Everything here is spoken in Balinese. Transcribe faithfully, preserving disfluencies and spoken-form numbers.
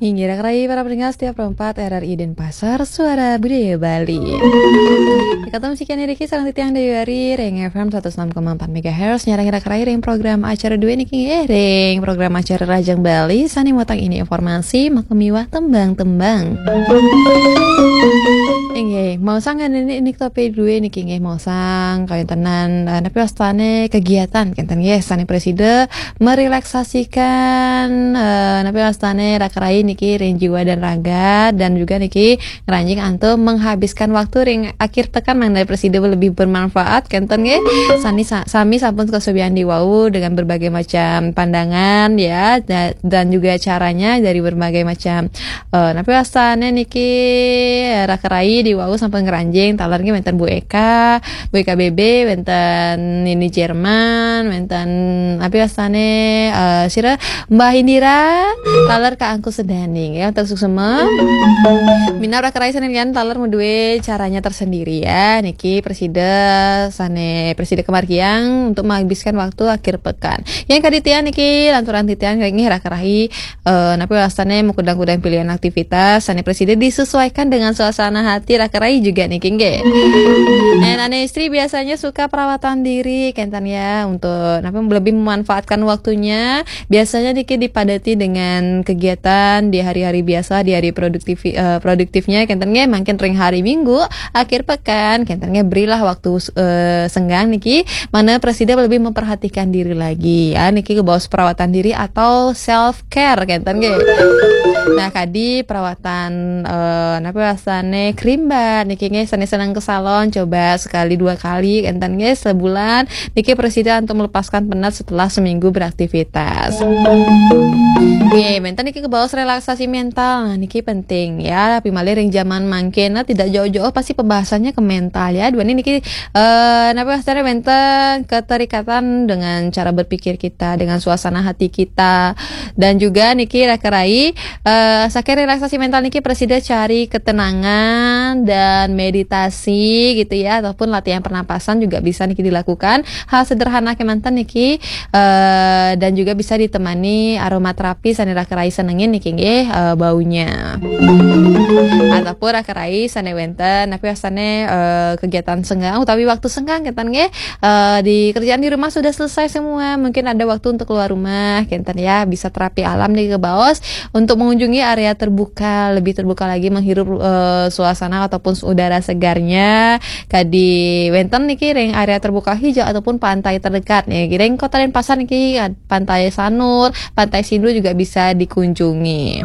Inggih, Raka Rai para pendengar setia Pro empat R R I Denpasar, Suara Budaya Bali. Kata musik yang diriki sareng titiang Dewi Ari, ring F M seratus enam koma empat megahertz, nyarengin Raka Rai ring program acara dua niki, eh, ring program acara Rajang Bali, sane muatang ini informasi, makamiwah tembang-tembang. Inggih, maosang niki, niki topik dua niki, inggih, maosang kawéntenan, eh, napi wastane kegiatan, kenten nggih, sane prasida merelaksasikan, eh, napi wastane Raka Rai niki ring jiwa dan raga, dan juga niki ngranjing antuk menghabiskan waktu ring akhir pekan mangda prasida lebih bermanfaat, kenten nggih. Sani sa-, sami sampun kasubian di wau dengan berbagai macam pandangan ya, da-, dan juga caranya dari berbagai macam, eh, napi wastane niki, eh, Raka Rai di wau sampun ngranjing, taler nggih wenten Bu Eka, Bu Eka B B, wenten Nini Jerman, wenten napi wastane, eh, sira Mbah Indira, taler Kak Angku Sedaning ya, untuk suksema. Minab Raka Rai sane lian taler madue caranya tersendiri ya. Niki prasida sane prasida kamargiang untuk menghabiskan waktu akhir pekan. Yang kaditian niki lanturan titian nggih Raka Rai, eh, napi wastane mengkudang-kudang pilihan aktivitas sane prasida disesuaikan dengan suasana hati Raka Rai juga niki nggih. Nah, ane istri biasanya suka perawatan diri, kenten ya, untuk napi lebih memanfaatkan waktunya. Biasanya niki dipadati dengan kegiatan di hari-hari biasa, di hari produktif, eh, produktifnya, kenten nggih, mangkin ring hari Minggu, akhir pekan, kenten nggih, berilah waktu, eh, senggang niki, mangda prasida lebih memperhatikan diri lagi ya, niki kebaos perawatan diri atau self care, kenten nggih. Nah, kadi perawatan, eh, napi wastane, krimbat niki nggih, sane seneng ke salon, coba sekali dua kali, kenten nggih, sebulan, niki prasida untuk melepaskan penat setelah seminggu beraktivitas. Nggih, wenten niki kebaos relaksasi mental. Nah, niki penting ya, tapi malih ring zaman mangkin, nah, tidak jauh-jauh pasti pembahasannya ke mental ya. Dua niki, eh, napi wastane wenten keterikatan dengan cara berpikir kita, dengan suasana hati kita. Dan juga niki Raka Rai, eh, saking relaksasi mental niki prasida cari ketenangan dan meditasi gitu ya, ataupun latihan pernapasan juga bisa niki dilakukan. Hal sederhana kemanten niki, eh, dan juga bisa ditemani aromaterapi sane Raka Rai senengin niki nggih, eh, baunya. Ataupun Raka Rai sane wenten, napi wastane, eh, kegiatan senggang utawi waktu senggang kenten nggih, eh, di kerjaan di rumah sudah selesai semua, mungkin ada waktu untuk keluar rumah, kenten ya, bisa terapi alam niki kebaos untuk mengunjungi area terbuka, lebih terbuka lagi menghirup, eh, suasana ataupun udara segarnya. Kadi wenten niki ring area terbuka hijau ataupun pantai terdekat nih. Ring Kota Denpasar niki Pantai Sanur, Pantai Sindur juga bisa dikunjungi.